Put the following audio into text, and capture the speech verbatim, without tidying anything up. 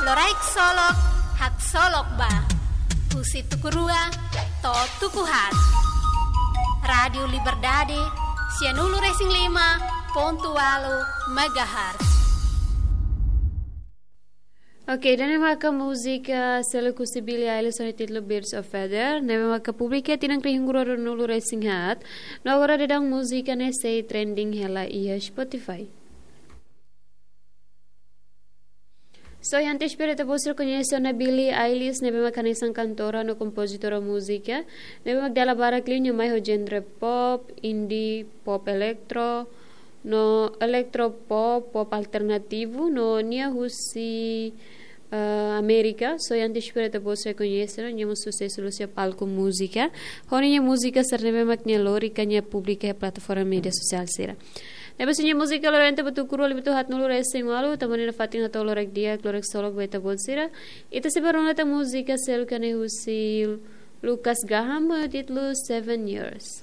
Loraik Solok, haksolok ba. Husi tuku rua to'o tuku haat. Rádiu Liberdade, sianulu-resin-lima pontu ualu megahertz. Oke, ida-ne'e maka múzika seluk husi Billie Eilish ho nia títulu Birds of Feather, ne'ebé maka publika tinan rihun rua ruanulu-resin-haat, no agora daudaun múzika ne'e sei trending hela iha Spotify. So, iha antes espera ita-boot sira koñese ona Billie Eilish, ne'ebé maka hanesan kantora no kompozitora múzika, ne'ebé maka dala barak liu nia mai ho genre pop, indie, pop eletro, no eletro pop, pop alternativu, no nia husi, eh, Amérika. So, iha antes espera ita-boot sira koñese ona, nia mós susesu liu iha palku múzika. Ho nia múzika sira ne'ebé maka nia lori ka nia publika iha plataforma média sosiál sira. Ne'ebé husi nia múzika lorenta ba tuku rua liu ba tuku haatnulu-resin-ualu, tanba ne'e nafatin hato'o loraik di'ak, loraik solok ba ita-boot sira. Ita sei bá rona tan múzika seluk hanesan husi Lucas Graham, ho títulu Seven Years.